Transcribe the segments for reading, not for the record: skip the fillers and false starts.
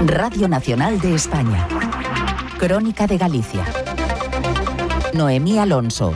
Radio Nacional de España. Crónica de Galicia. Noemí Alonso.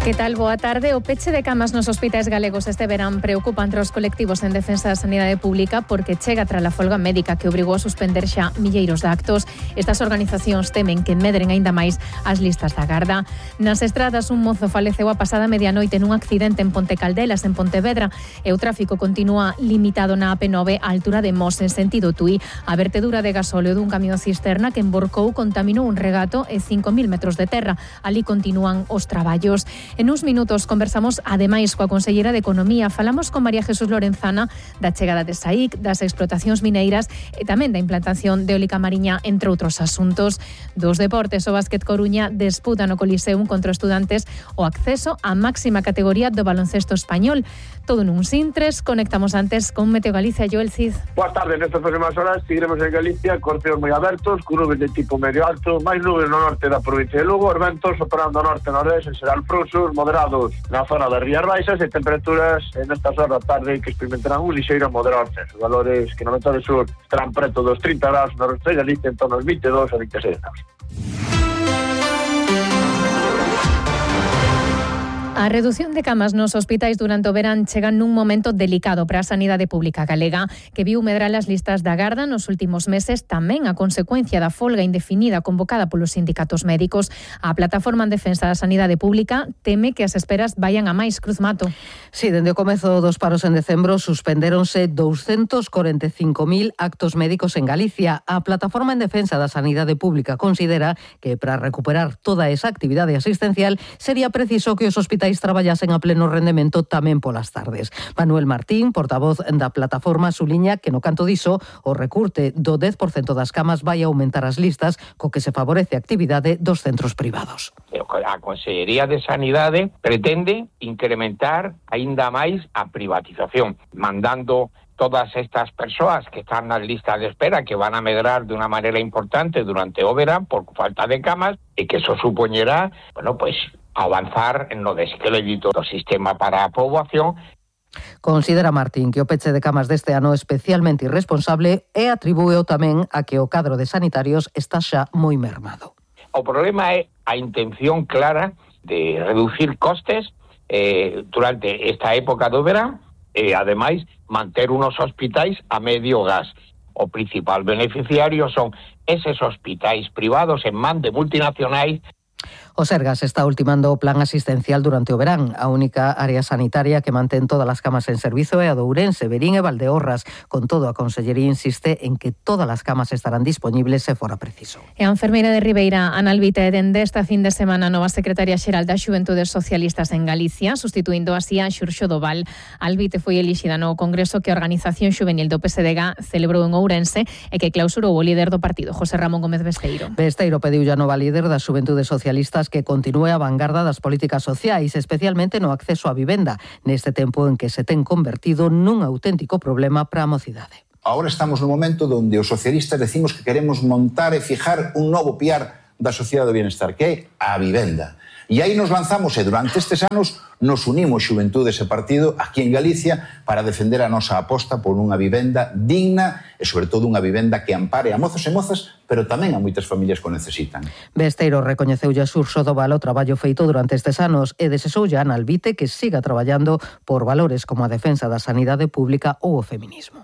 Que tal? Boa tarde. O peche de camas nos hospitais galegos este verán preocupa entre os colectivos en defensa da sanidade pública porque chega tras a folga médica que obrigou a suspender xa milleiros de actos. Estas organizacións temen que medren aínda máis as listas da garda. Nas estradas, un mozo faleceu a pasada medianoite nun accidente en Ponte Caldelas, en Pontevedra, e o tráfico continúa limitado na AP9 á altura de Mos, en sentido Tui. A vertedura de gasóleo dun camión cisterna que emborcou contaminou un regato e 5.000 metros de terra. Ali continúan os traballos. En uns minutos conversamos ademais coa conselleira de Economía. Falamos con María Jesús Lorenzana da chegada de SAIC, das explotacións mineiras e tamén da implantación de eólica mariña, entre outros asuntos. Dos deportes, o Básquet Coruña disputa no Coliseum contra Estudantes o acceso á máxima categoría do baloncesto español. Todo nun sintres. Conectamos antes con Meteo Galicia. Joel Cid. Boas tardes. Nestas próximas horas seguiremos en Galicia con cielos moi abertos, con nubes de tipo medio alto, máis nubes no norte da provincia de Lugo, os ventos operando norte-nordeste serán frouxos moderados na zona das Rías Baixas e temperaturas nestas horas da tarde que experimentarán un lixeiro moderado ascenso. Valores que no Metade Sur estarán preto dos 30 graus no resto de Galicia, en torno aos 22 a 26 graus. A redución de camas nos hospitais durante o verán chega nun momento delicado para a sanidade pública galega, que viu medrar as listas da garda nos últimos meses, tamén a consecuencia da folga indefinida convocada polos sindicatos médicos. A Plataforma en Defensa da Sanidade Pública teme que as esperas vayan a máis. Cruz Mato. Sí, dende o comezo dos paros en decembro suspendéronse 245.000 actos médicos en Galicia. A Plataforma en Defensa da Sanidade Pública considera que para recuperar toda esa actividade asistencial sería preciso que os hospitais traballasen a pleno rendemento tamén polas tardes. Manuel Martín, portavoz da plataforma, suliña que no canto diso o recurte do 10% das camas vai aumentar as listas, co que se favorece a actividade dos centros privados. A Consellería de Sanidade pretende incrementar aínda máis a privatización, mandando todas estas persoas que están nas listas de espera, que van a medrar de unha maneira importante durante o verán por falta de camas, e que eso supoñerá, avanzar no descrédito do sistema para a poboación. Considera Martín que o peche de camas deste ano é especialmente irresponsable e atribúeo tamén a que o cadro de sanitarios está xa moi mermado. O problema é a intención clara de reducir costes durante esta época do verán e, ademais, manter unos hospitais a medio gas. O principal beneficiario son eses hospitais privados en man de multinacionais. O Sergas está ultimando o plan asistencial durante o verán. A única área sanitaria que mantén todas as camas en servizo é a de Ourense, Verín e Valdeorras. Con todo, a Consellería insiste en que todas as camas estarán disponibles se fora preciso. E a enfermeira de Ribeira, Ana Albite, dende esta fin de semana nova secretaria xeral da Xuventudes Socialistas en Galicia, sustituindo así a Xurxo Doval. Albite foi elixida no congreso que a Organización Xuvenil do PSDG celebrou en Ourense e que clausurou o líder do partido, José Ramón Gómez Besteiro. Besteiro pediu a nova líder das Xuventudes Socialistas que continúe a vanguarda das políticas sociais, especialmente no acceso á vivenda, neste tempo en que se ten convertido nun auténtico problema para a mocidade. Ahora estamos no momento onde os socialistas decimos que queremos montar e fijar un novo piar da sociedade do bienestar, que é a vivenda. E aí nos lanzamos e durante estes anos nos unimos Xuventude ese partido aquí en Galicia para defender a nosa aposta por unha vivenda digna e sobre todo unha vivenda que ampare a mozos e mozas, pero tamén a moitas familias que o necesitan. Besteiro recoñeceulle a Xurxo Doval o traballo feito durante estes anos e desexoulle a Ana Albite que siga traballando por valores como a defensa da sanidade pública ou o feminismo.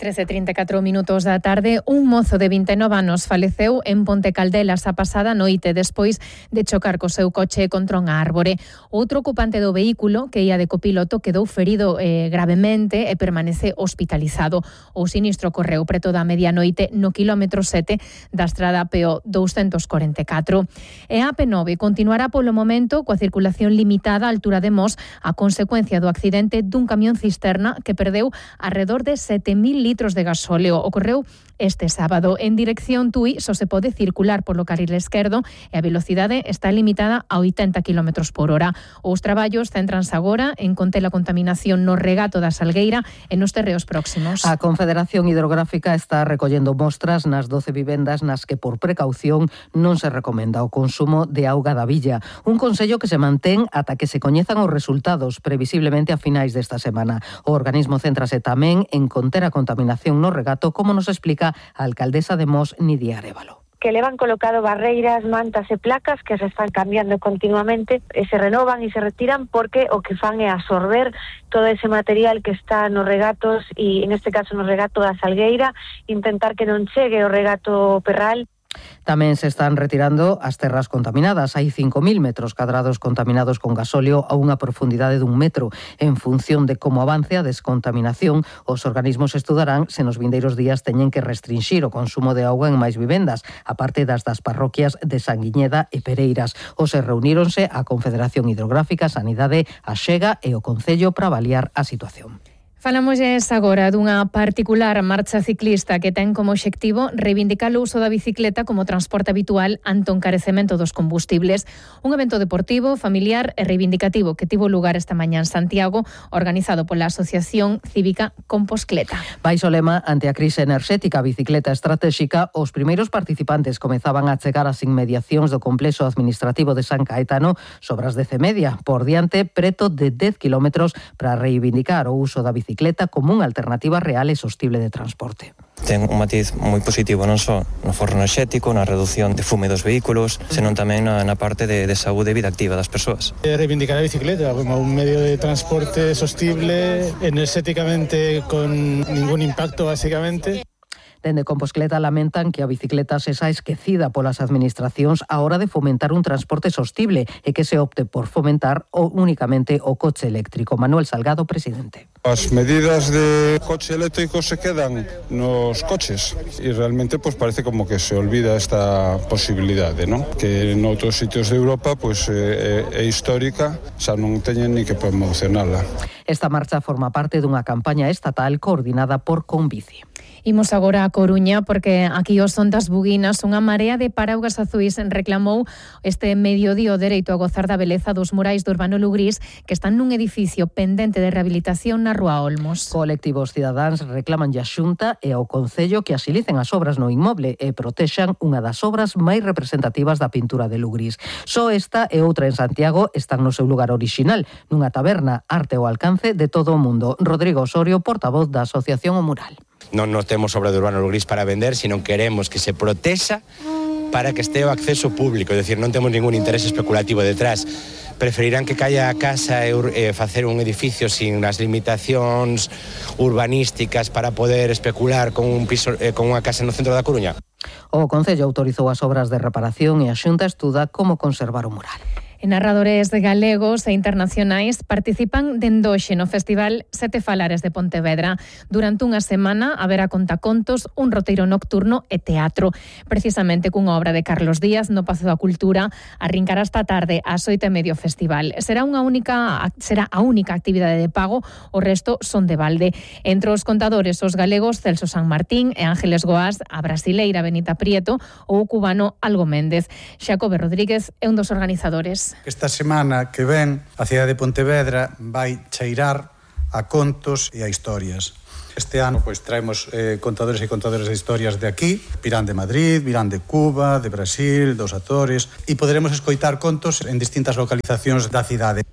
13:34 minutos da tarde, un mozo de 29 anos faleceu en Ponte Caldelas a pasada noite despois de chocar co seu coche contra unha árbore. Outro ocupante do vehículo, que ia de copiloto, quedou ferido gravemente e permanece hospitalizado. O sinistro correu preto da medianoite no quilómetro 7 da estrada PO 244. E a AP9 continuará polo momento coa circulación limitada á altura de Mos a consecuencia do accidente dun camión cisterna que perdeu alrededor de 7.000 litros de gasóleo. Ocorreu este sábado. En dirección Tui só se pode circular polo carril esquerdo e a velocidade está limitada a 80 km por hora. Os traballos céntranse agora en conter a contaminación no regato da Salgueira e nos terreos próximos. A Confederación Hidrográfica está recollendo mostras nas 12 vivendas nas que por precaución non se recomenda o consumo de auga da Villa. Un consello que se mantén ata que se coñezan os resultados, previsiblemente a finais desta semana. O organismo céntrase tamén en conter a contaminación no regato, como nos explica a alcaldesa de Mos, Nidia Arévalo. Que levan colocado barreiras, mantas e placas que se están cambiando continuamente e se renovan e se retiran porque o que fan é absorber todo ese material que está nos regatos e, en este caso, no regato da Salgueira, intentar que non chegue o regato Perral. Tamén se están retirando as terras contaminadas. Hai 5.000 metros cadrados contaminados con gasóleo a unha profundidade dun metro. En función de como avance a descontaminación, os organismos estudarán se nos vindeiros días teñen que restrinxir o consumo de auga en máis vivendas, aparte das parroquias de Sanguiñeda e Pereiras. Hoxe reuníronse a Confederación Hidrográfica, Sanidade, a Xega e o Concello para avaliar a situación. Falamosles agora dunha particular marcha ciclista que ten como obxectivo reivindicar o uso da bicicleta como transporte habitual ante o encarecemento dos combustibles. Un evento deportivo, familiar e reivindicativo que tivo lugar esta mañá en Santiago, organizado pola Asociación Cívica Composcleta. Baixo lema ante a crise enerxética, a bicicleta estratéxica, os primeiros participantes comezaban a chegar ás inmediacións do complexo administrativo de San Caetano sobre as 10:30. Por diante, preto de 10 kilómetros para reivindicar o uso da bicicleta como unha alternativa real e sostible de transporte. Ten un matiz moi positivo non só no forro enerxético, na reducción de fume dos vehículos, senón tamén na parte de saúde e vida activa das persoas. Reivindicar a bicicleta como un medio de transporte sostible, enerxéticamente con ningún impacto, basicamente. Dende Composcleta lamentan que a bicicleta se xa esquecida polas administracións á hora de fomentar un transporte sostible e que se opte por fomentar únicamente o coche eléctrico. Manuel Salgado, presidente. As medidas de coche eléctrico se quedan nos coches e realmente pues parece como que se olvida esta posibilidade, ¿no? Que en outros sitios de Europa pues é histórica, xa non teñen ni que promocionala. Esta marcha forma parte dunha campaña estatal coordinada por Conbici. Imos agora a Coruña porque aquí os son das Buguinas unha marea de paraugas azuis reclamou este mediodía o dereito a gozar da beleza dos murais do Urbano Lugrís que están nun edificio pendente de rehabilitación na Rúa Olmos. Colectivos cidadáns reclaman a Xunta e ao Concello que asilicen as obras no inmoble e protexan unha das obras máis representativas da pintura de Lugrís. Só esta e outra en Santiago están no seu lugar orixinal, nunha taberna, arte ao alcance de todo o mundo. Rodrigo Osorio, portavoz da Asociación O Mural. Non temos obra de Urbano Lugrís para vender, sino queremos que se protexa para que este o acceso público, é dicir, non temos ningún interés especulativo detrás. Preferirán que caia a casa e facer un edificio sin as limitacións urbanísticas para poder especular con un piso, con unha casa no centro da Coruña. O Concello autorizou as obras de reparación e a Xunta estuda como conservar o mural. E narradores galegos e internacionais participan dende hoxe no Festival Sete Falares de Pontevedra. Durante unha semana haberá contacontos, un roteiro nocturno e teatro. Precisamente cunha obra de Carlos Díaz no Pazo da Cultura arrincará esta tarde ás 8:30 o festival. Será a única actividade de pago, o resto son de balde. Entre os contadores, os galegos Celso San Martín e Ángeles Goás, a brasileira Benita Prieto ou o cubano Algo Méndez. Xacobe Rodríguez é un dos organizadores. Esta semana que ven, a cidade de Pontevedra vai cheirar a contos e a historias. Este ano pois traemos contadores e contadoras de historias de aquí, virán de Madrid, virán de Cuba, de Brasil, dos Açores, e poderemos escoitar contos en distintas localizacións da cidade.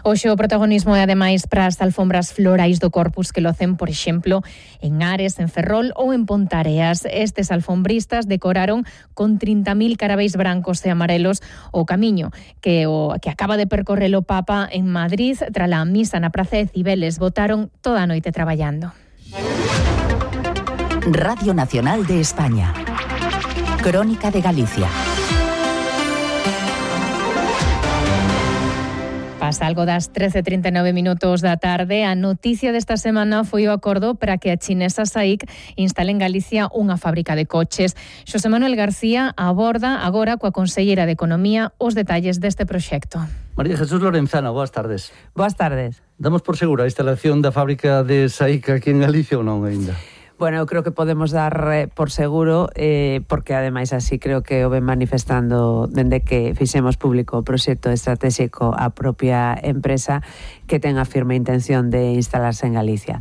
Hoxe o protagonismo é ademais para as alfombras florais do Corpus que locen, por exemplo, en Ares, en Ferrol ou en Pontareas. Estes alfombristas decoraron con 30.000 carabéis brancos e amarelos o camiño que acaba de percorrer o Papa en Madrid tras a misa na Praza de Cibeles. Botaron toda a noite traballando. Radio Nacional de España. Crónica de Galicia. Pasa algo das 13:39 da tarde. A noticia desta semana foi o acordo para que a chinesa SAIC instale en Galicia unha fábrica de coches. Xosé Manuel García aborda agora coa conselleira de Economía os detalles deste proxecto. María Jesús Lorenzana, boas tardes. Boas tardes. Damos por segura a instalación da fábrica de SAIC aquí en Galicia ou non aínda? Bueno, eu creo que podemos dar por seguro, porque ademais así creo que o ven manifestando dende que fixemos público o proxecto estratégico a propia empresa, que ten a firme intención de instalarse en Galicia.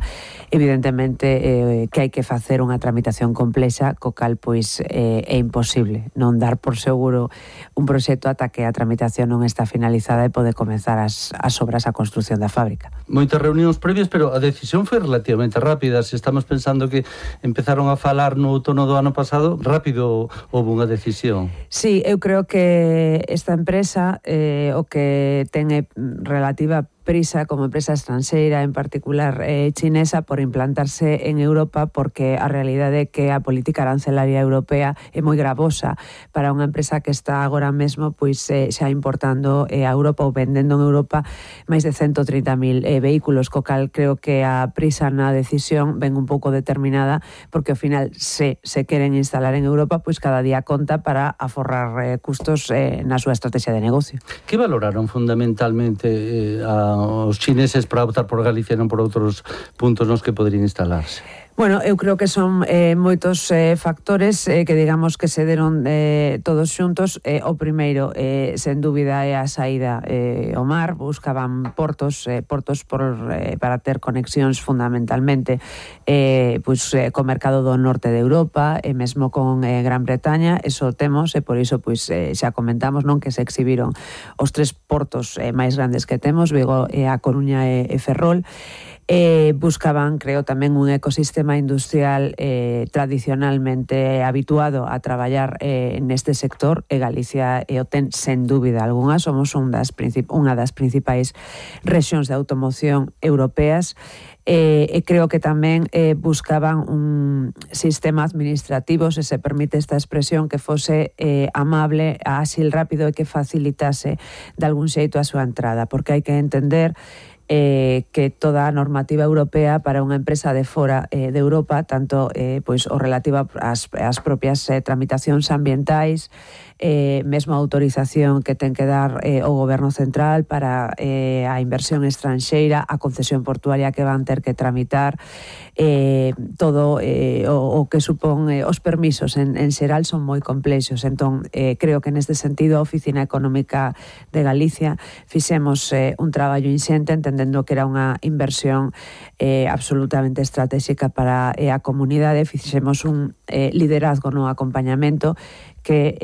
Evidentemente que hai que facer unha tramitación complexa, co cal pois é imposible non dar por seguro un proxecto ata que a tramitación non está finalizada e pode comenzar as obras, a construción da fábrica. Moitas reunións previas, pero a decisión foi relativamente rápida. Se estamos pensando que empezaron a falar no outono do ano pasado, rápido houve unha decisión. Sí, eu creo que esta empresa o que ten relativa prisa como empresa estranxeira, en particular chinesa, por implantarse en Europa, porque a realidade é que a política arancelaria europea é moi gravosa para unha empresa que está agora mesmo pois xa importando a Europa ou vendendo en Europa máis de 130.000 vehículos, co cal creo que a prisa na decisión ven un pouco determinada, porque ao final se queren instalar en Europa, pois cada día conta para aforrar custos na súa estrategia de negocio. Que valoraron fundamentalmente os chineses para optar por Galicia e non por outros puntos nos que poderían instalarse? Bueno, eu creo que son moitos factores que digamos que se deron todos xuntos. O primeiro, sen dúbida, é a saída ao mar. Buscaban portos para ter conexións fundamentalmente co mercado do norte de Europa e mesmo con Gran Bretaña. Eso temos e por iso xa comentamos, non, que se exhibiron os 3 portos máis grandes que temos, Vigo, A Coruña e Ferrol. Buscaban, creo, tamén un ecosistema industrial tradicionalmente habituado a traballar neste sector, e Galicia o ten sen dúbida algunha. Somos unha das principais rexións de automoción europeas. Creo que tamén buscaban un sistema administrativo, se se permite esta expresión, que fose amable, áxil, rápido e que facilitase de algún xeito a súa entrada, porque hai que entender que toda a normativa europea para unha empresa de fora de Europa, tanto o relativa ás propias tramitacións ambientais, mesmo a autorización que ten que dar o goberno central para a inversión estranxeira, a concesión portuaria que van ter que tramitar, todo o que supón os permisos en xeral son moi complexos. Entón, creo que neste sentido a Oficina Económica de Galicia fixemos un traballo inxente, entendendo que era unha inversión absolutamente estratégica para a comunidade. Fixemos un liderazgo no acompañamento que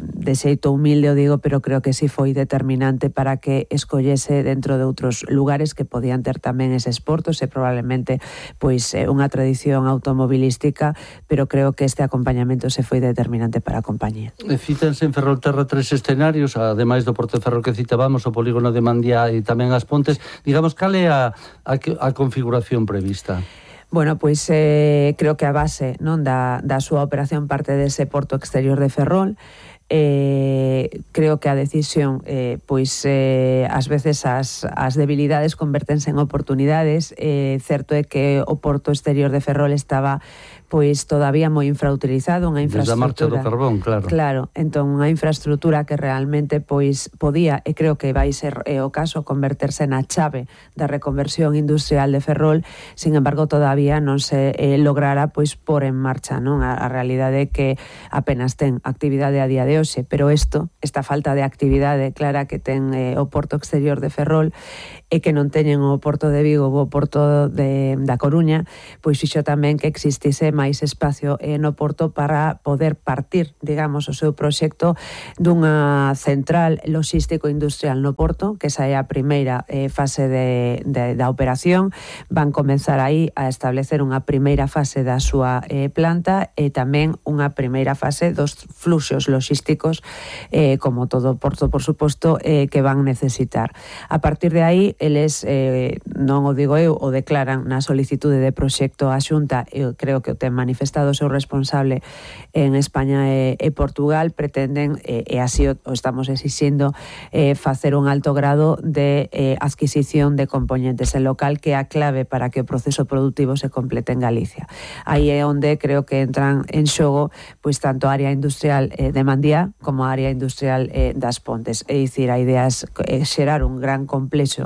de xeito humilde o digo, pero creo que sí foi determinante para que escollese dentro de outros lugares que podían ter tamén eses portos e probablemente unha tradición automobilística, pero creo que este acompañamento se foi determinante para a compañía. Cítanse en Ferrolterra 3 escenarios, ademais do Porto de Ferrol que citábamos, o polígono de Mandía e tamén as Pontes. Digamos, cal é a configuración prevista? Bueno, creo que a base, non, da súa operación parte dese porto exterior de Ferrol. Creo que a decisión ás veces as debilidades convertense en oportunidades. Certo é que o porto exterior de Ferrol estaba todavía moi infrautilizado, unha infraestructura. Desde a marcha do carbón, claro. Claro, entón unha infraestructura que realmente podía, e creo que vai ser o caso, converterse na chave da reconversión industrial de Ferrol. Sin embargo, todavía non se lograra por en marcha, non? A realidade é que apenas ten actividade a día de hoxe, pero esta falta de actividade clara que ten o porto exterior de Ferrol e que non teñen o porto de Vigo ou o porto da Coruña, fixo tamén que existise máis espacio no porto para poder partir, digamos, o seu proxecto dunha central logístico industrial no porto, que esa é a primeira fase da operación. Van comenzar aí a establecer unha primeira fase da súa planta e tamén unha primeira fase dos fluxos logísticos, como todo porto, por suposto, que van necesitar. A partir de aí, eles, non o digo eu, o declaran na solicitude de proxecto á Xunta, eu creo que o ten manifestado o seu responsable en España e Portugal, pretenden, e así o estamos exixindo, facer un alto grado de adquisición de componentes en local, que é a clave para que o proceso productivo se complete en Galicia. Aí é onde creo que entran en xogo tanto a área industrial de Mandía como a área industrial das Pontes. É dicir, a idea é xerar un gran complexo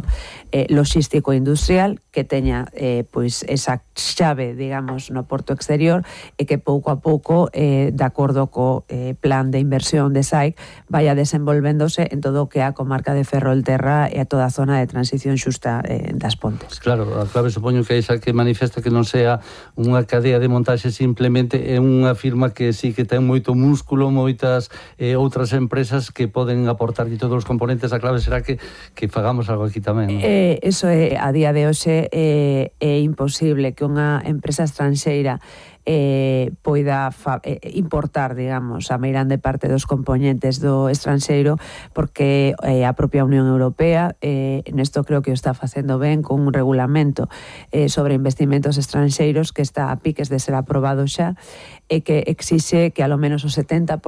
logístico industrial que teña pois esa chave, digamos, no porto exterior e que pouco a pouco, de acordo co plan de inversión de SAIC, vaya desenvolvéndose en todo o que é a comarca de Ferrolterra e a toda a zona de transición xusta das Pontes. Claro, a clave supoño que é esa que manifesta que non sea unha cadea de montaxe, simplemente é unha firma que sí que ten moito músculo, moitas outras empresas que poden aportar todos os componentes. A clave será que fagamos algo aquí tamén, non? Eso é, a día de hoxe é imposible que unha empresa estranxeira poida importar, digamos, a meirande parte dos componentes do estranxeiro, porque a propia Unión Europea nesto creo que o está facendo ben con un regulamento sobre investimentos estranxeiros que está a piques de ser aprobado xa e que exixe que ao menos o 70%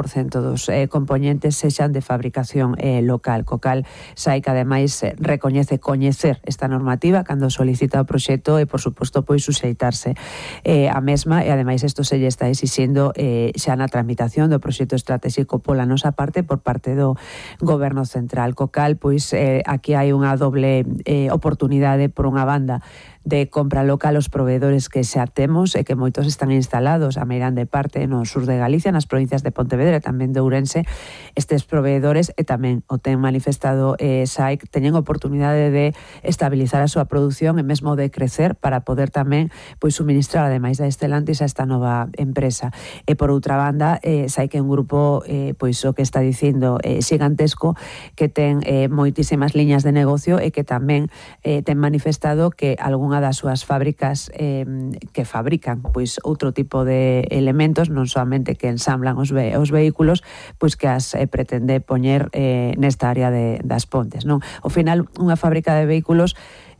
dos componentes sexan de fabricación local, co cal SAIC ademais recoñece coñecer esta normativa cando solicita o proxecto e por suposto pois suxeitarse a mesma, e ademais isto se lle está exixindo xa na tramitación do proxecto estratégico pola nosa parte por parte do Goberno Central, co cal pois aquí hai unha doble oportunidade. Por unha banda, de compra local os proveedores que xa temos e que moitos están instalados a meirande parte no sur de Galicia, nas provincias de Pontevedra e tamén de Ourense. Estes proveedores, e tamén o ten manifestado SAIC, teñen oportunidade de estabilizar a súa produción e mesmo de crecer para poder tamén pois suministrar ademais da Stellantis a esta nova empresa. E por outra banda, SAIC é un grupo pois o que está dicindo xigantesco, que ten moitísimas liñas de negocio e que tamén ten manifestado que algunha das súas fábricas que fabrican pois outro tipo de elementos, non soamente que ensamblan os vehículos, pois que as pretende poñer nesta área das Pontes, non? Ao final, unha fábrica de vehículos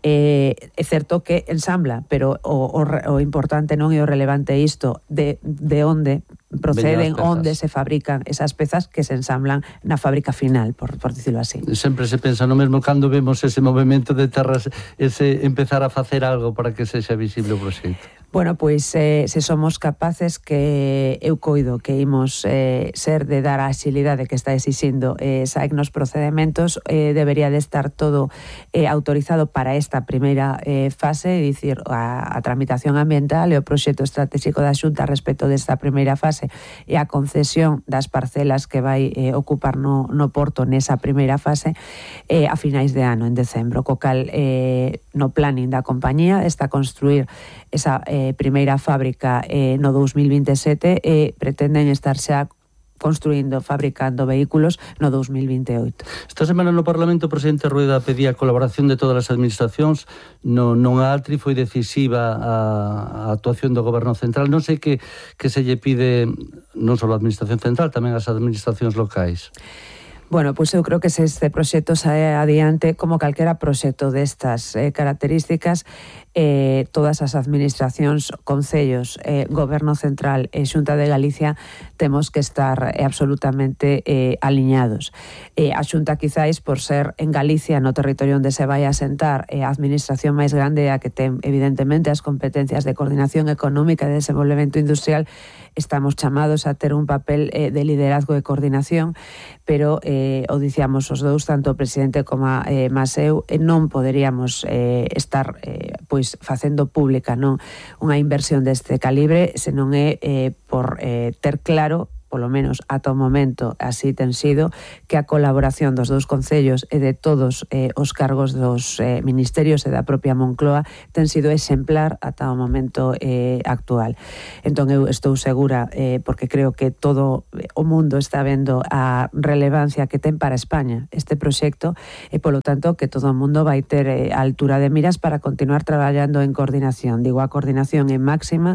é certo que ensambla, pero o importante non é o relevante isto de onde proceden, onde se fabrican esas pezas que se ensamblan na fábrica final, por dicirlo así. Sempre se pensa no mesmo cando vemos ese movimento de terras, ese empezar a facer algo para que sexa visible o proxecto. Bueno, pois se somos capaces, que eu coido que imos ser de dar a axilidade que está exixindo SAIC nos procedementos, debería de estar todo autorizado para esta primeira fase, é dicir, a tramitación ambiental e o proxecto estratégico da Xunta respecto desta primeira fase e a concesión das parcelas que vai ocupar no porto nesa primeira fase a finais de ano, en decembro, co cal no planning da compañía está construir esa primeira fábrica no 2027 e pretenden estar xa construindo, fabricando vehículos no 2028. Esta semana no Parlamento o presidente Rueda pedía a colaboración de todas as administracións. Non a Altri foi decisiva a actuación do Goberno Central. Non sei que se lle pide non só a Administración Central, tamén as administracións locais. Bueno, pois eu creo que se este proxecto sae adiante, como calquera proxecto destas características, todas as administracións, concellos, Goberno Central e Xunta de Galicia temos que estar absolutamente aliñados. A Xunta quizáis por ser en Galicia, no territorio onde se vai a sentar, a administración máis grande, a que ten evidentemente as competencias de coordinación económica e de desenvolvemento industrial, estamos chamados a ter un papel de liderazgo e coordinación, pero o dicíamos os dous, tanto o presidente como mas eu, non poderíamos estar pois facendo pública non unha inversión deste calibre se non é por ter claro, polo menos ata o momento así ten sido, que a colaboración dos dous concellos e de todos os cargos dos ministerios e da propia Moncloa ten sido exemplar ata o momento actual. Entón eu estou segura, porque creo que todo o mundo está vendo a relevancia que ten para España este proxecto e polo tanto que todo o mundo vai ter a altura de miras para continuar traballando en coordinación. Digo, a coordinación é máxima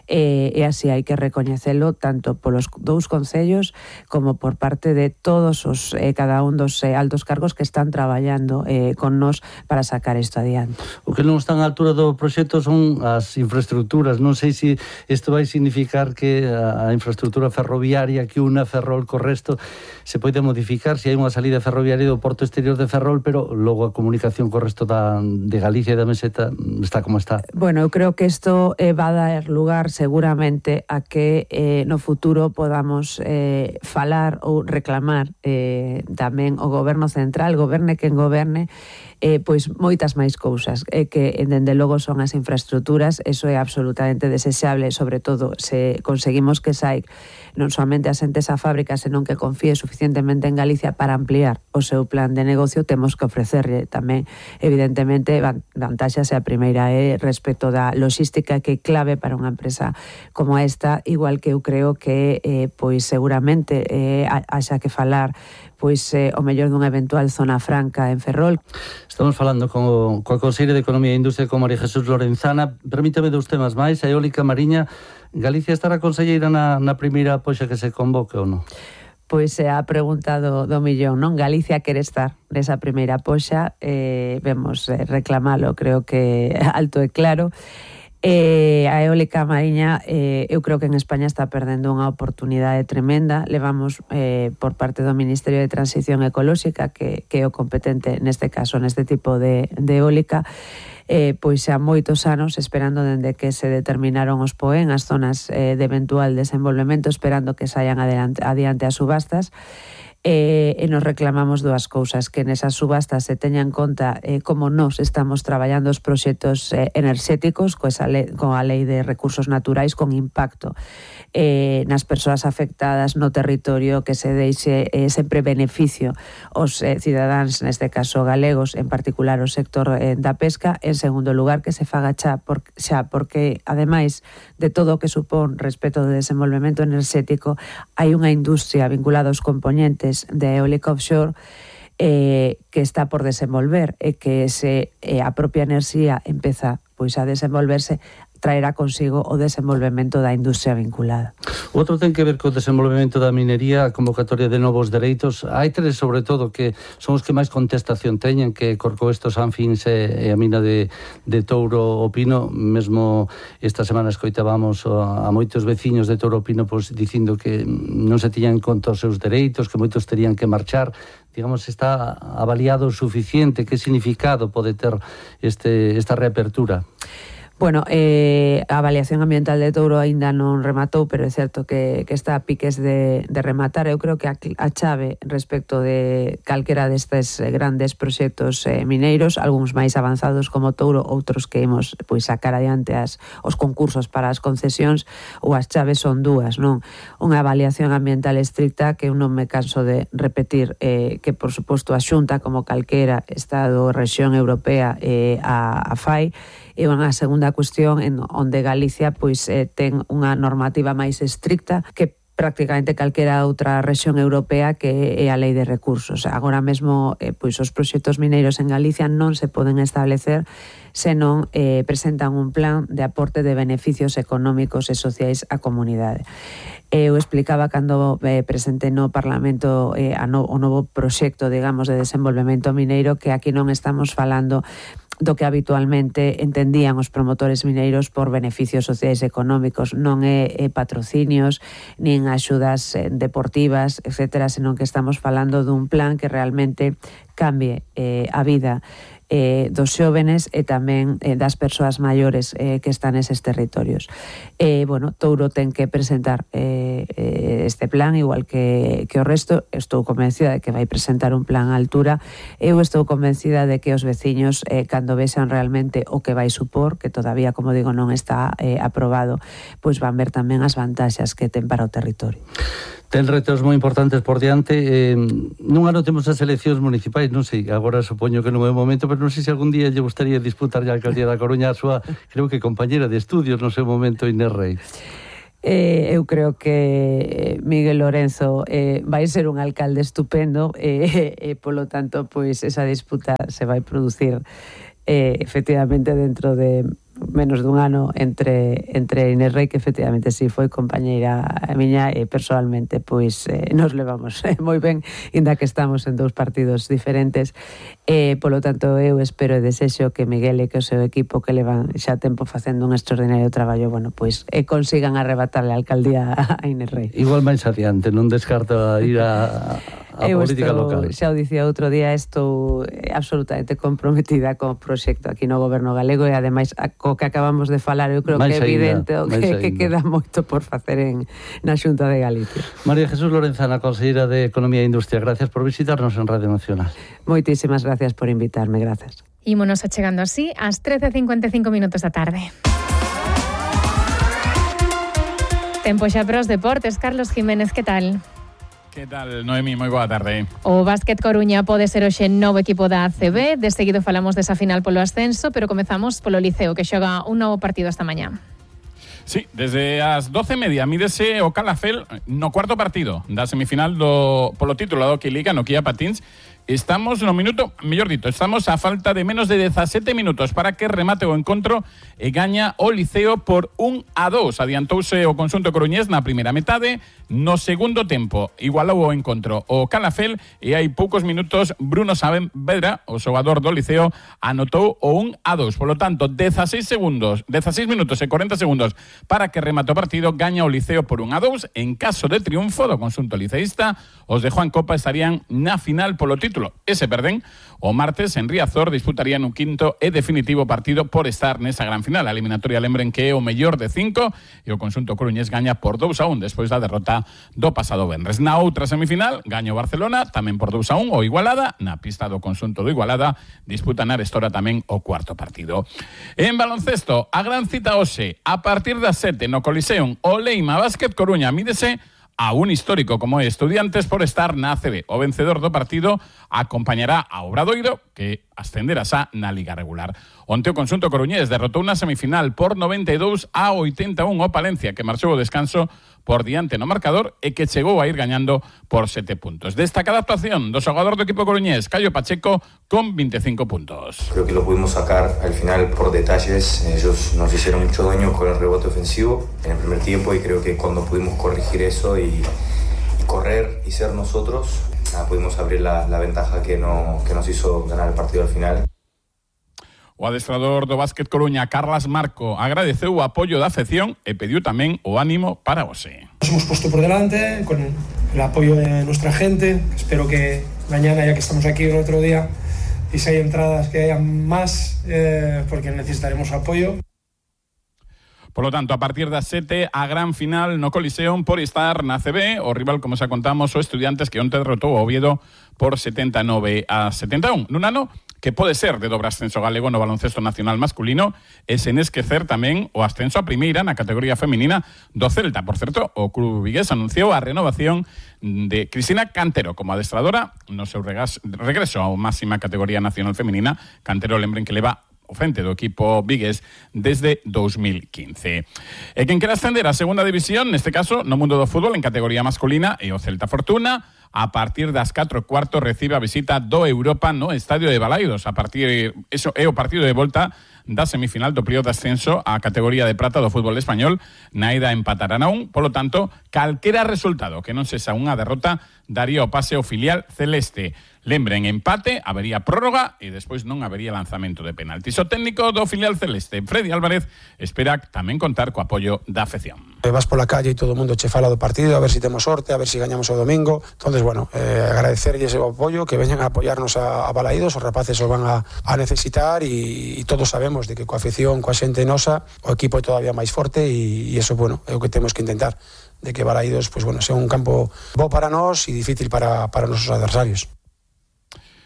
e así hai que recoñecelo tanto polos dous concellos como por parte de todos os cada un dos altos cargos que están traballando con nós para sacar isto adiante. O que non están á altura do proxecto son as infraestructuras. Non sei se isto vai significar que a infraestructura ferroviaria que una Ferrol co resto se pode modificar, se hai unha salida ferroviaria do porto exterior de Ferrol, pero logo a comunicación co resto de Galicia e da Meseta está como está. Bueno, eu creo que isto va a dar lugar seguramente a que no futuro podamos falar ou reclamar tamén o Goberno Central, goberne quen goberne, pois moitas máis cousas que dende logo son as infraestructuras. Eso é absolutamente desexable, sobre todo se conseguimos que SAIC non somente asente esa fábrica, senón que confíe suficientemente en Galicia para ampliar o seu plan de negocio. Temos que ofrecerle tamén, evidentemente, vantaxas. A primeira é respecto da logística, que é clave para unha empresa como esta, igual que eu creo que pois seguramente haxa que falar pois o mellor dunha eventual zona franca en Ferrol. Estamos falando coa Conselleira de Economía e Industria, con María Jesús Lorenzana. Permítame dous temas máis. A eólica mariña, Galicia estará conselleira na primeira poxa que se convoque ou non? Pois se ha preguntado do millón, non? Galicia quere estar nesa primeira poxa, vemos reclamalo, creo que alto e claro. A eólica mariña, eu creo que en España está perdendo unha oportunidade tremenda. Levamos por parte do Ministerio de Transición Ecolóxica, que é o competente neste caso, neste tipo de eólica, pois xa moitos anos esperando dende que se determinaron os POEN, as zonas de eventual desenvolvemento, esperando que saian adiante as subastas. E nos reclamamos dúas cousas: que nesas subastas se teña en conta como nós estamos traballando os proxectos enerxéticos coa lei de recursos naturais, con impacto nas persoas afectadas no territorio, que se deixe sempre beneficio aos cidadáns, neste caso galegos, en particular o sector da pesca. En segundo lugar, que se faga xa porque, ademais de todo o que supón respecto do desenvolvemento enerxético, hai unha industria vinculada aos componentes de eólica offshore que está por desenvolver, e que se a propia enerxía empeza pois a desenvolverse, traerá consigo o desenvolvemento da industria vinculada. Outro ten que ver co desenvolvemento da minería, a convocatoria de novos dereitos. Hai tres, sobre todo, que son os que máis contestación teñen, que Corcoesto, Sanfins e a mina de Touro o Pino. Mesmo esta semana escoitábamos a moitos veciños de Touro o Pino pois dicindo que non se tiñan en conta os seus dereitos, que moitos terían que marchar. Digamos, está avaliado o suficiente? Que significado pode ter esta reapertura? Bueno, a avaliación ambiental de Touro aínda non rematou, pero é certo que está a piques de rematar. Eu creo que a chave respecto de calquera destes grandes proxectos mineiros, algúns máis avanzados como Touro, outros que imos pois sacar adiante os concursos para as concesións, ou as chaves son dúas, non? Unha avaliación ambiental estricta, que eu non me canso de repetir, que por suposto a Xunta, como calquera Estado, rexión europea, a fai. E unha segunda cuestión en onde Galicia pois ten unha normativa máis estricta que prácticamente calquera outra rexión europea, que é a lei de recursos. Agora mesmo pois os proxectos mineiros en Galicia non se poden establecer se non presentan un plan de aporte de beneficios económicos e sociais á comunidade. Eu explicaba cando presentei no Parlamento o novo proxecto, digamos, de desenvolvemento mineiro, que aquí non estamos falando do que habitualmente entendían os promotores mineiros por beneficios sociais e económicos. Non é patrocinios, nin axudas deportivas, etcétera, senón que estamos falando dun plan que realmente cambie a vida dos xóvenes e tamén das persoas maiores que están neses territorios. Bueno, Touro ten que presentar este plan, igual que o resto. Estou convencida de que vai presentar un plan á altura. Eu estou convencida de que os veciños, cando vexan realmente o que vai supor, que todavía, como digo, non está aprobado, pois van ver tamén as vantaxas que ten para o territorio. Ten retos moi importantes por diante. Nun ano temos as eleccións municipais, non sei, agora supoño que non é o momento, pero non sei se algún día lle gustaría disputar a alcaldía da Coruña a súa, creo que compañera de estudios no seu momento, Inés Rei. Eu creo que Miguel Lorenzo vai ser un alcalde estupendo, e polo tanto, pois esa disputa se vai producir efectivamente dentro de menos dun ano entre Inés Rei, que efectivamente sí foi compañeira miña, e personalmente pois nos levamos moi ben, inda que estamos en dous partidos diferentes. Polo tanto, eu espero e desexo que Miguel e que o seu equipo, que levan xa tempo facendo un extraordinario traballo, bueno, pois consigan arrebatarle a alcaldía a Inés Rei. Igual máis adiante, non descarta ir a política local. Xa o dicía outro día, estou absolutamente comprometida co proxecto aquí no goberno galego e ademais co que acabamos de falar, eu creo que é evidente que queda moito por facer na Xunta de Galicia. María Jesús Lorenzana, conselleira de Economía e Industria, gracias por visitarnos en Radio Nacional. Moitísimas gracias por invitarme, gracias. Ímonos achegando así ás 13:55 da tarde. Tempo xa para os deportes. Carlos Jiménez, que tal? Que tal, Noemi? Moi boa tarde. O Básquet Coruña pode ser hoxe novo equipo da ACB. De seguido falamos desa final polo ascenso, pero comezamos polo Liceo, que xoga un novo partido esta mañá. Sí, desde as 12:30 mídese o Calafel no cuarto partido da semifinal polo título da Hockey Liga no Kia Patins. Estamos no minuto, mellor dito, estamos a falta de menos de 17 minutos para que remate o encontro e gaña o Liceo por 1-2. Adiantouse o conxunto coruñés na primeira metade, no segundo tempo igualou o encontro o Calafel e hai poucos minutos Bruno Saavedra, o xogador do Liceo, anotou o 1-2. Polo tanto, 16 minutos e 40 segundos para que remate o partido, gaña o Liceo por 1-2. En caso de triunfo do conxunto liceísta, os de Juan Copa estarían na final polo título. E se perden, o martes en Riazor disputarían un quinto e definitivo partido por estar nesa gran final. A eliminatoria, lembren que é o mellor de 5 e o conxunto coruñés gaña por 2-1 despois da derrota do pasado venres. Na outra semifinal, gaña o Barcelona tamén por 2-1 o Igualada. Na pista do conxunto do Igualada disputan a Arestora tamén o cuarto partido. En baloncesto, a gran cita hoxe, a partir das 7 no Coliseum, o Leima Básquet Coruña mídese a un histórico como é Estudiantes por estar na ACB. O vencedor do partido acompañará a Obradoiro, que ascenderá xa na Liga regular. Onte o conxunto coruñés derrotou na semifinal por 92-81 o Palencia, que marchou o descanso por diante no marcador e que chegou a ir gañando por 7 puntos. Destacada actuación do xogador do equipo coruñés, Caio Pacheco, con 25 puntos. Creo que lo pudimos sacar al final por detalles. Ellos nos hicieron mucho daño con el rebote ofensivo en el primer tiempo y creo que cuando pudimos corregir eso y correr y ser nosotros, pudimos abrir la ventaja que nos hizo ganar el partido al final. O adestrador do Básquet Coruña, Carlas Marco, agradeceu o apoio da afección e pediu tamén o ánimo para hoxe. Nos hemos puesto por delante con el apoyo de nuestra gente. Espero que mañana, ya que estamos aquí el otro día, y si hay entradas que hayan más, porque necesitaremos apoyo. Por lo tanto, a partir das 7, a gran final no Coliseum por estar na CB. O rival, como xa contamos, o Estudiantes, que onte derrotou o Oviedo por 79-71. Nun ano que pode ser de dobre ascenso galego no baloncesto nacional masculino e sen esquecer tamén o ascenso a primeira na categoría feminina do Celta. Por certo, o club vigués anunciou a renovación de Cristina Cantero como adestradora no seu regreso á máxima categoría nacional feminina. Cantero, lembren que leva o frente do equipo vigués desde 2015. E quen quera ascender a segunda división, neste caso, no mundo do fútbol en categoría masculina, e o Celta Fortuna, a partir das 4:15 recibe a visita do Europa no Estadio de Balaidos. A partir eso é o partido de volta da semifinal do período de ascenso á categoría de prata do fútbol español. Na ida empatarán a 1, polo tanto, calquera resultado que non sexa unha derrota daría o pase ao filial celeste. Lembren, empate, habería prórroga e despois non habería lanzamento de penaltis. O técnico do filial celeste, Freddy Álvarez, espera tamén contar co apoio da afección. Vas pola calle e todo o mundo che fala do partido, a ver si temos sorte, a ver si gañamos o domingo. Entonces, bueno, agradecerlles o apoio, que veñan a apoiarnos a Balaídos, os rapaces os van a necesitar e todos sabemos de que coa afección, coa xente nosa, o equipo é todavía máis forte e eso, bueno, é o que temos que intentar, de que Balaídos, pues, bueno, sea un campo bo para nós e difícil para os nosos adversarios.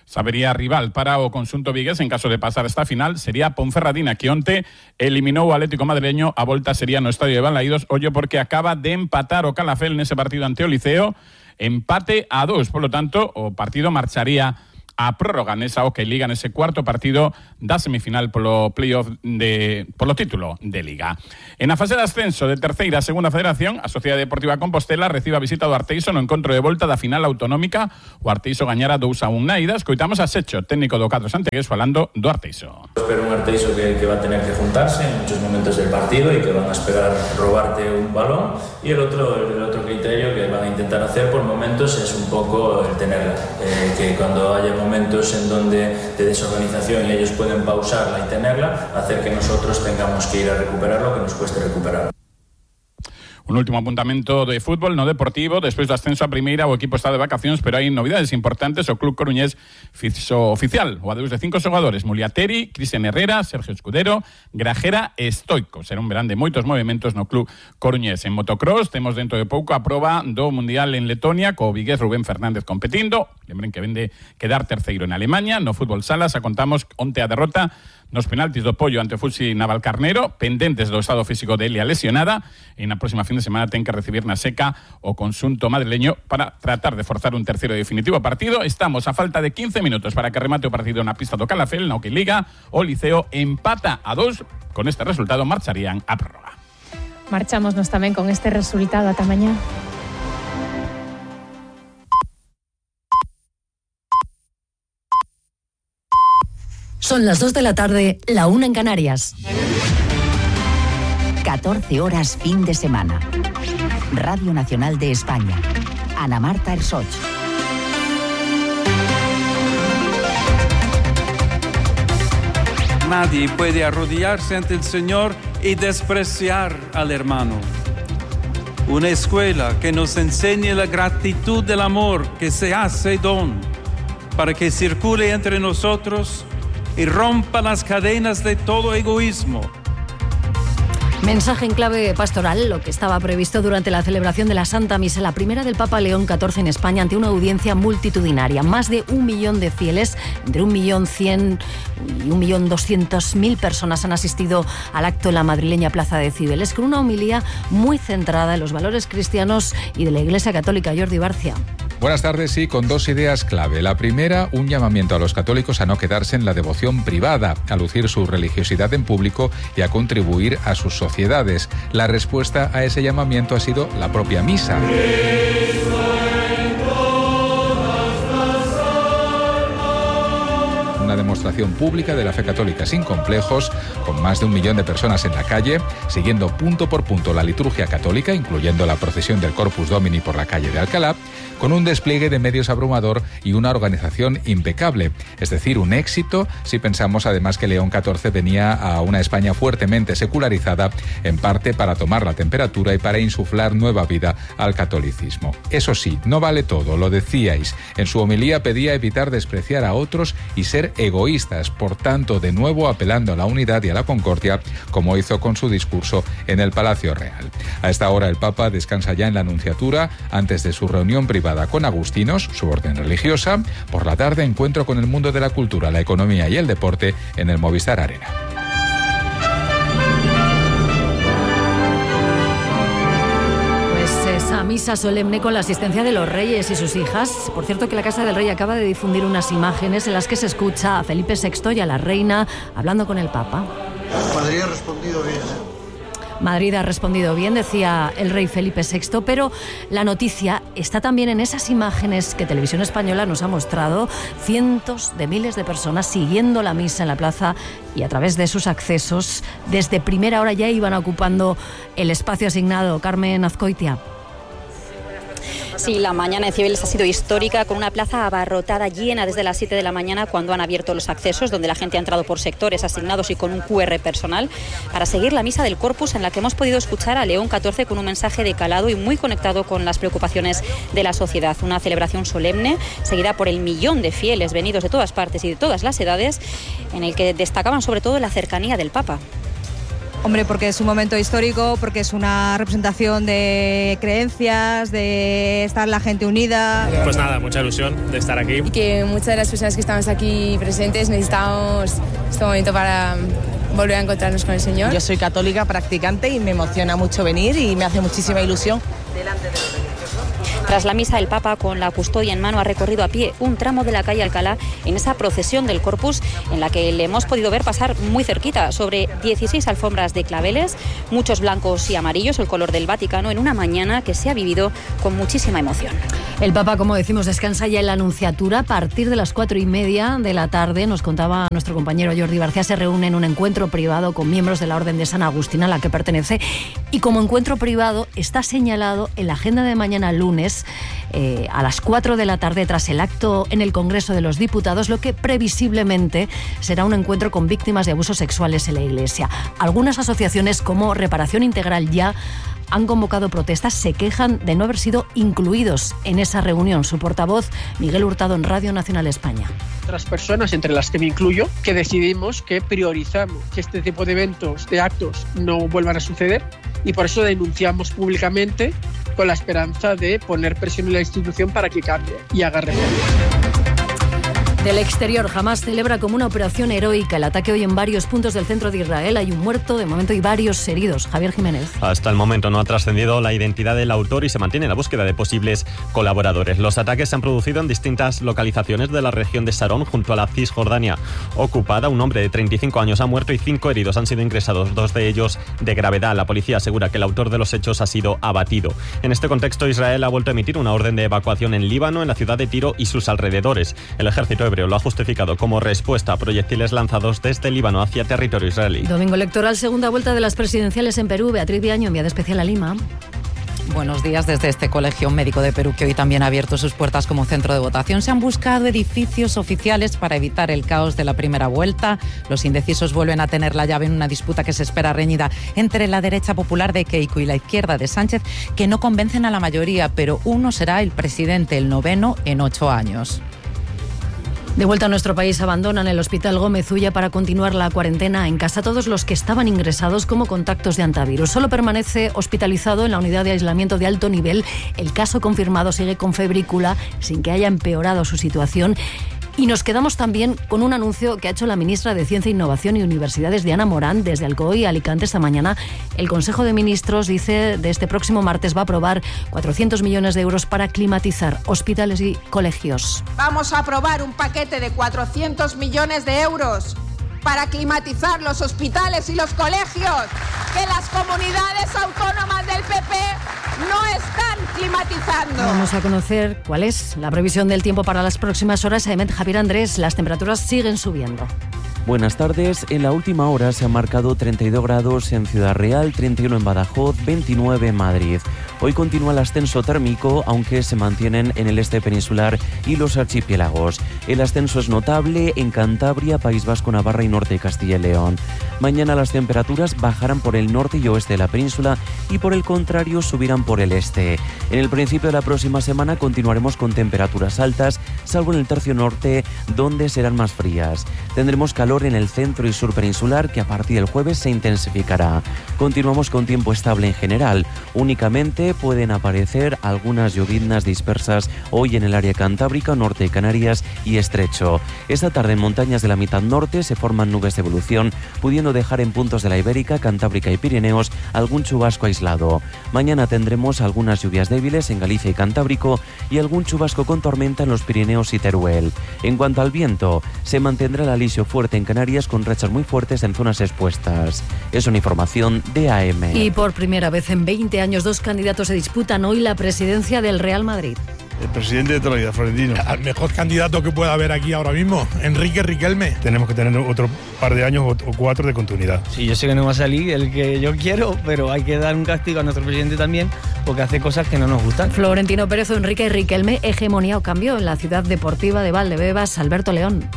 Sabería rival para o conxunto vigués en caso de pasar esta final sería Ponferradina, que onte eliminou o Atlético madrileño. A volta sería no Estadio de Balaídos, ollo porque acaba de empatar o Calafel nese partido ante o Liceo, empate a 2, polo tanto o partido marcharía a prórroga nesa Hockey Liga, nese cuarto partido da semifinal polo playoff polo título de Liga. En a fase de ascenso de terceira a segunda federación, a Sociedade Deportiva Compostela recibe a visita do Arteixo no encontro de volta da final autonómica. O Arteixo gañara 2-1 na ida. Escoitamos a Secho, técnico do Cadro Santegués, falando do Arteixo. Espero un Arteixo que va a tener que juntarse en muchos momentos del partido y que van a esperar robarte un balón, y el otro criterio que van a intentar hacer por momentos es un poco el tenerla, que cuando haya momentos en donde de desorganización y ellos pueden pausarla y tenerla, hacer que nosotros tengamos que ir a recuperarlo, que nos cueste recuperar. Un último apuntamento de fútbol no deportivo. Despois do ascenso a primeira, o equipo está de vacacións, pero hai novidades importantes. O club coruñés fixo oficial o adeus de 5 xogadores: Muliateri, Cristian Herrera, Sergio Escudero, Grajera e Stoico. Será un verán de moitos movimentos no club coruñés. En motocross temos dentro de pouco a proba do Mundial en Letonia, co vigués Rubén Fernández competindo. Lembren que vende quedar terceiro en Alemanha. No fútbol sala xa contamos onte a derrota nos penaltis do Pollo ante o Fuxi Navalcarnero, pendentes do estado físico de Elia lesionada, e na próxima fin de semana ten que recibir na seca o conxunto madrileño para tratar de forzar un terceiro e definitivo partido. Estamos a falta de 15 minutos para que remate o partido na pista do Calafell, na que Liga o Liceo empata a 2. Con este resultado marcharían a prórroga. Marchámonos tamén con este resultado. Ata mañá. Son las 2 de la tarde, la 1 en Canarias. 14 horas fin de semana. Radio Nacional de España. Ana Marta Ersoch. Nadie puede arrodillarse ante el Señor y despreciar al hermano. Una escuela que nos enseñe la gratitud del amor que se hace don para que circule entre nosotros y rompa las cadenas de todo egoísmo. Mensaje en clave pastoral, lo que estaba previsto durante la celebración de la Santa Misa, la primera del Papa León XIV en España, ante una audiencia multitudinaria. Más de 1 millón de fieles, entre 1.100.000 y 1.200.000 personas han asistido al acto en la madrileña Plaza de Cibeles, con una homilía muy centrada en los valores cristianos y de la Iglesia Católica. Jordi Barcia. Buenas tardes, sí, con 2 ideas clave. La primera, un llamamiento a los católicos a no quedarse en la devoción privada, a lucir su religiosidad en público y a contribuir a sus sociedades. La respuesta a ese llamamiento ha sido la propia misa. Una demostración pública de la fe católica sin complejos, con más de 1 millón de personas en la calle, siguiendo punto por punto la liturgia católica, incluyendo la procesión del Corpus Domini por la calle de Alcalá, con un despliegue de medios abrumador y una organización impecable. Es decir, un éxito si pensamos además que León XIV venía a una España fuertemente secularizada, en parte para tomar la temperatura y para insuflar nueva vida al catolicismo. Eso sí, no vale todo, lo decíais. En su homilía pedía evitar despreciar a otros y ser egoístas, por tanto, de nuevo apelando a la unidad y a la concordia, como hizo con su discurso en el Palacio Real. A esta hora el Papa descansa ya en la Nunciatura antes de su reunión privada con agustinos, su orden religiosa. Por la tarde, encuentro con el mundo de la cultura, la economía y el deporte en el Movistar Arena. Esa misa solemne con la asistencia de los reyes y sus hijas. Por cierto, que la Casa del Rey acaba de difundir unas imágenes en las que se escucha a Felipe VI y a la reina hablando con el Papa. Madrid ha respondido bien, Madrid ha respondido bien, decía el rey Felipe VI, pero la noticia está también en esas imágenes que Televisión Española nos ha mostrado, cientos de miles de personas siguiendo la misa en la plaza y a través de sus accesos. Desde primera hora ya iban ocupando el espacio asignado. Carmen Azcoitia. Sí, la mañana de Cibeles ha sido histórica, con una plaza abarrotada, llena desde las 7 de la mañana, cuando han abierto los accesos, donde la gente ha entrado por sectores asignados y con un QR personal, para seguir la misa del Corpus, en la que hemos podido escuchar a León XIV con un mensaje de calado y muy conectado con las preocupaciones de la sociedad. Una celebración solemne, seguida por el 1 millón de fieles venidos de todas partes y de todas las edades, en el que destacaban sobre todo la cercanía del Papa. Hombre, porque es un momento histórico, porque es una representación de creencias, de estar la gente unida. Pues nada, mucha ilusión de estar aquí. Y que muchas de las personas que estamos aquí presentes necesitamos este momento para volver a encontrarnos con el Señor. Yo soy católica practicante y me emociona mucho venir y me hace muchísima ilusión. Delante de los religiosos. Tras la misa, el Papa, con la custodia en mano, ha recorrido a pie un tramo de la calle Alcalá en esa procesión del Corpus, en la que le hemos podido ver pasar muy cerquita, sobre 16 alfombras de claveles, muchos blancos y amarillos, el color del Vaticano, en una mañana que se ha vivido con muchísima emoción. El Papa, como decimos, descansa ya en la Nunciatura. A partir de las 4:30 de la tarde, nos contaba nuestro compañero Jordi Barcia, se reúne en un encuentro privado con miembros de la Orden de San Agustín, a la que pertenece, y como encuentro privado está señalado en la agenda de mañana lunes, a las 4 de la tarde, tras el acto en el Congreso de los Diputados, lo que previsiblemente será un encuentro con víctimas de abusos sexuales en la Iglesia. Algunas asociaciones como Reparación Integral ya han convocado protestas, se quejan de no haber sido incluidos en esa reunión. Su portavoz, Miguel Hurtado, en Radio Nacional España. Otras personas, entre las que me incluyo, que decidimos que priorizamos que este tipo de eventos, de actos, no vuelvan a suceder, y por eso denunciamos públicamente con la esperanza de poner presión en la institución para que cambie y haga reformas. Del exterior, Hamás celebra como una operación heroica el ataque hoy en varios puntos del centro de Israel. Hay un muerto de momento y varios heridos. Javier Jiménez. Hasta el momento no ha trascendido la identidad del autor y se mantiene la búsqueda de posibles colaboradores. Los ataques se han producido en distintas localizaciones de la región de Sarón, junto a la Cisjordania ocupada. Un hombre de 35 años ha muerto y 5 heridos han sido ingresados, 2 de ellos de gravedad. La policía asegura que el autor de los hechos ha sido abatido. En este contexto, Israel ha vuelto a emitir una orden de evacuación en Líbano, en la ciudad de Tiro y sus alrededores. El ejército lo ha justificado como respuesta a proyectiles lanzados desde Líbano hacia territorio israelí. Domingo electoral, segunda vuelta de las presidenciales en Perú. Beatriz Viaño, enviada especial a Lima. Buenos días. Desde este Colegio Médico de Perú, que hoy también ha abierto sus puertas como centro de votación, se han buscado edificios oficiales para evitar el caos de la primera vuelta. Los indecisos vuelven a tener la llave en una disputa que se espera reñida entre la derecha popular de Keiko y la izquierda de Sánchez, que no convencen a la mayoría, pero uno será el presidente, el 9º en 8 años. De vuelta a nuestro país, abandonan el Hospital Gómez Ulla para continuar la cuarentena en casa todos los que estaban ingresados como contactos de antivirus. Solo permanece hospitalizado en la unidad de aislamiento de alto nivel. El caso confirmado sigue con febrícula sin que haya empeorado su situación. Y nos quedamos también con un anuncio que ha hecho la ministra de Ciencia, Innovación y Universidades, Diana Morán, desde Alcoy, Alicante, esta mañana. El Consejo de Ministros, dice, de este próximo martes va a aprobar 400 millones de euros para climatizar hospitales y colegios. Vamos a aprobar un paquete de 400 millones de euros para climatizar los hospitales y los colegios, que las comunidades autónomas del PP no están climatizando. Vamos a conocer cuál es la previsión del tiempo para las próximas horas. Javier Andrés, las temperaturas siguen subiendo. Buenas tardes. En la última hora se han marcado 32 grados en Ciudad Real, 31 en Badajoz, 29 en Madrid. Hoy continúa el ascenso térmico, aunque se mantienen en el este peninsular y los archipiélagos. El ascenso es notable en Cantabria, País Vasco, Navarra y norte de Castilla y León. Mañana las temperaturas bajarán por el norte y oeste de la península y por el contrario subirán por el este. En el principio de la próxima semana continuaremos con temperaturas altas, salvo en el tercio norte, donde serán más frías. Tendremos calor en el centro y sur peninsular, que a partir del jueves se intensificará. Continuamos con tiempo estable en general. Únicamente pueden aparecer algunas lloviznas dispersas hoy en el área cantábrica, norte de Canarias y estrecho. Esta tarde en montañas de la mitad norte se forman nubes de evolución, pudiendo dejar en puntos de la Ibérica, Cantábrica y Pirineos algún chubasco aislado. Mañana tendremos algunas lluvias débiles en Galicia y Cantábrico y algún chubasco con tormenta en los Pirineos y Teruel. En cuanto al viento, se mantendrá el alisio fuerte en Canarias con rachas muy fuertes en zonas expuestas. Es una información de AM. Y por primera vez en 20 años, 2 candidatos se disputan hoy la presidencia del Real Madrid. El presidente de toda la vida, Florentino. Al mejor candidato que pueda haber aquí ahora mismo, Enrique Riquelme. Tenemos que tener otro par de años o 4 de continuidad. Sí, yo sé que no va a salir el que yo quiero, pero hay que dar un castigo a nuestro presidente también, porque hace cosas que no nos gustan. Florentino Pérez o Enrique Riquelme, hegemonía o cambio en la ciudad deportiva de Valdebebas. Alberto León.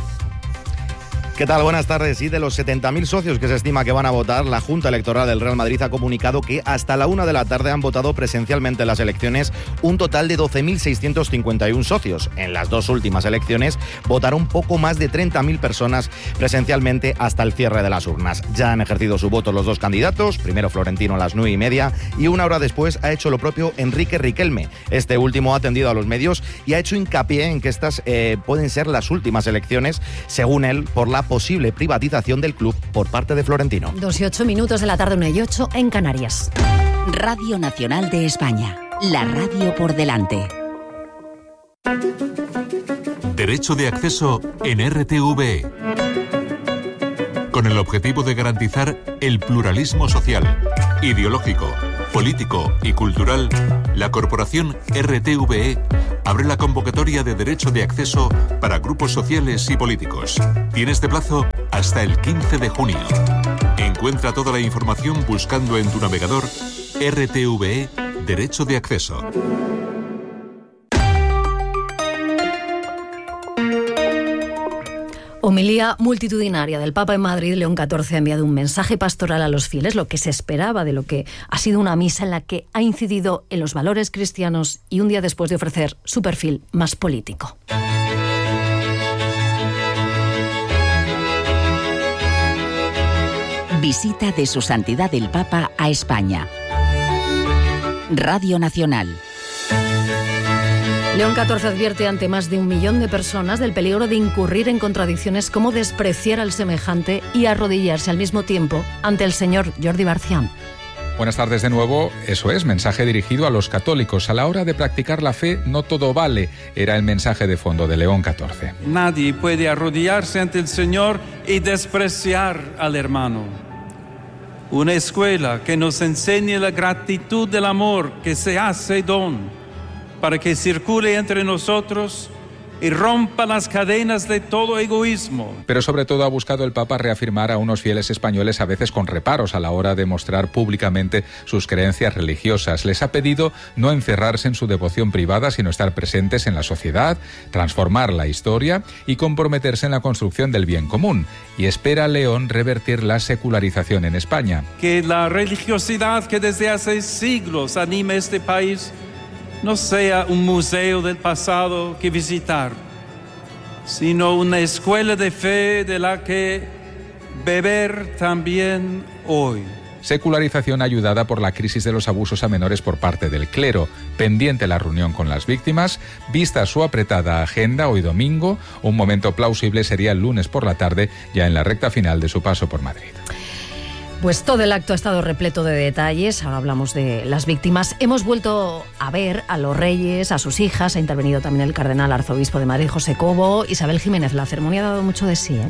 ¿Qué tal? Buenas tardes. Y de los 70.000 socios que se estima que van a votar, la Junta Electoral del Real Madrid ha comunicado que hasta la 1 de la tarde han votado presencialmente en las elecciones un total de 12.651 socios. En las 2 últimas elecciones votaron poco más de 30.000 personas presencialmente hasta el cierre de las urnas. Ya han ejercido su voto los 2 candidatos, primero Florentino a las 9:30 y una hora después ha hecho lo propio Enrique Riquelme. Este último ha atendido a los medios y ha hecho hincapié en que estas pueden ser las últimas elecciones, según él, por la posible privatización del club por parte de Florentino. 2:08 de la tarde, 1:08 en Canarias. Radio Nacional de España, la radio por delante. Derecho de acceso en RTVE. Con el objetivo de garantizar el pluralismo social, ideológico, político y cultural, la corporación RTVE abre la convocatoria de derecho de acceso para grupos sociales y políticos. Tiene este plazo hasta el 15 de junio. Encuentra toda la información buscando en tu navegador RTVE Derecho de Acceso. Homilía multitudinaria del Papa en Madrid. León XIV ha enviado un mensaje pastoral a los fieles, lo que se esperaba de lo que ha sido una misa en la que ha incidido en los valores cristianos y un día después de ofrecer su perfil más político. Visita de Su Santidad el Papa a España. Radio Nacional. León XIV advierte ante más de 1 millón de personas del peligro de incurrir en contradicciones como despreciar al semejante y arrodillarse al mismo tiempo ante el Señor. Jordi Barcián. Buenas tardes de nuevo. Eso es, mensaje dirigido a los católicos. A la hora de practicar la fe, no todo vale. Era el mensaje de fondo de León XIV. Nadie puede arrodillarse ante el Señor y despreciar al hermano. Una escuela que nos enseñe la gratitud del amor que se hace don, para que circule entre nosotros y rompa las cadenas de todo egoísmo. Pero sobre todo ha buscado el Papa reafirmar a unos fieles españoles a veces con reparos a la hora de mostrar públicamente sus creencias religiosas. Les ha pedido no encerrarse en su devoción privada, sino estar presentes en la sociedad, transformar la historia y comprometerse en la construcción del bien común. Y espera a León revertir la secularización en España. Que la religiosidad que desde hace siglos anima este país no sea un museo del pasado que visitar, sino una escuela de fe de la que beber también hoy. Secularización ayudada por la crisis de los abusos a menores por parte del clero, pendiente la reunión con las víctimas, vista su apretada agenda hoy domingo, un momento plausible sería el lunes por la tarde, ya en la recta final de su paso por Madrid. Pues todo el acto ha estado repleto de detalles. Ahora hablamos de las víctimas. Hemos vuelto a ver a los reyes, a sus hijas. Ha intervenido también el cardenal arzobispo de Madrid, José Cobo. Isabel Jiménez, la ceremonia ha dado mucho de sí, ¿eh?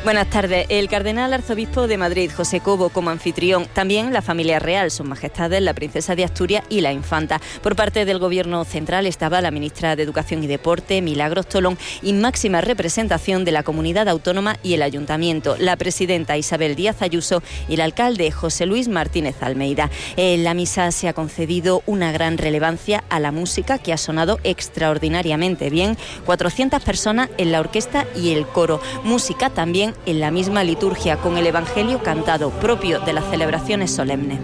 Buenas tardes. El cardenal arzobispo de Madrid, José Cobo, como anfitrión. También la familia real, sus majestades, la princesa de Asturias y la infanta. Por parte del gobierno central estaba la ministra de Educación y Deporte, Milagros Tolón, y máxima representación de la comunidad autónoma y el ayuntamiento, la presidenta Isabel Díaz Ayuso y el alcalde José Luis Martínez Almeida. En la misa se ha concedido una gran relevancia a la música, que ha sonado extraordinariamente bien. 400 personas en la orquesta y el coro. Música también en la misma liturgia, con el Evangelio cantado, propio de las celebraciones solemnes.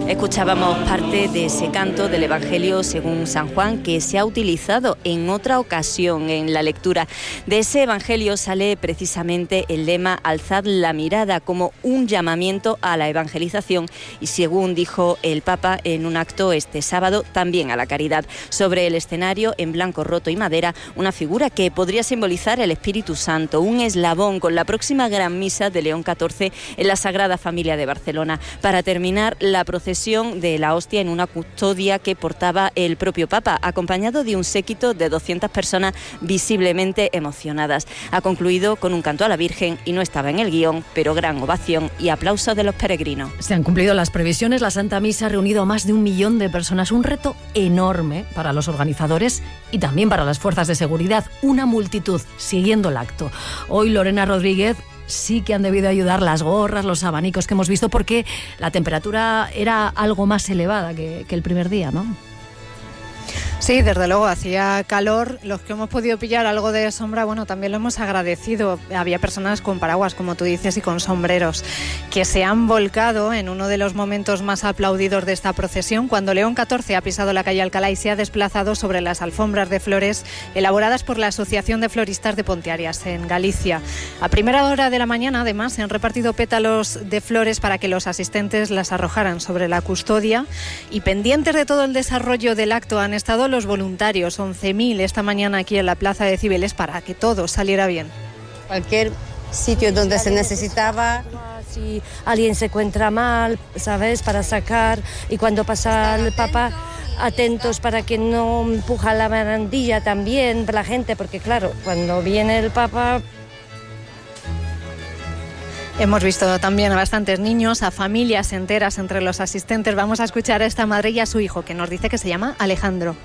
Escuchábamos parte de ese canto del Evangelio según San Juan, que se ha utilizado en otra ocasión en la lectura. De ese Evangelio sale precisamente el lema "Alzad la mirada", como un llamamiento a la evangelización y, según dijo el Papa en un acto este sábado, también a la caridad. Sobre el escenario, en blanco roto y madera, una figura que podría simbolizar el Espíritu Santo, un eslabón con la próxima gran misa de León XIV en la Sagrada Familia de Barcelona. Para terminar, la procesión de la hostia en una custodia que portaba el propio Papa, acompañado de un séquito de 200 personas visiblemente emocionadas. Ha concluido con un canto a la Virgen y no estaba en el guión, pero gran ovación y aplausos de los peregrinos. Se han cumplido las previsiones. La Santa Misa ha reunido a más de 1 millón de personas, un reto enorme para los organizadores y también para las fuerzas de seguridad. Una multitud siguiendo el acto. Hoy Lorena Rodríguez, sí que han debido ayudar las gorras, los abanicos que hemos visto, porque la temperatura era algo más elevada que el primer día, ¿no? Sí, desde luego, hacía calor. Los que hemos podido pillar algo de sombra, bueno, también lo hemos agradecido. Había personas con paraguas, como tú dices, y con sombreros, que se han volcado en uno de los momentos más aplaudidos de esta procesión, cuando León XIV ha pisado la calle Alcalá y se ha desplazado sobre las alfombras de flores elaboradas por la Asociación de Floristas de Pontearias, en Galicia. A primera hora de la mañana, además, se han repartido pétalos de flores para que los asistentes las arrojaran sobre la custodia, y pendientes de todo el desarrollo del acto han estado los voluntarios, 11.000 esta mañana aquí en la Plaza de Cibeles, para que todo saliera bien. Cualquier sitio donde se necesitaba, si alguien se encuentra mal, ¿sabes?, para sacar, y cuando pasa el Papa, atentos para que no empuja la barandilla también la gente, porque claro, cuando viene el Papa... Hemos visto también a bastantes niños, a familias enteras entre los asistentes. Vamos a escuchar a esta madre y a su hijo, que nos dice que se llama Alejandro.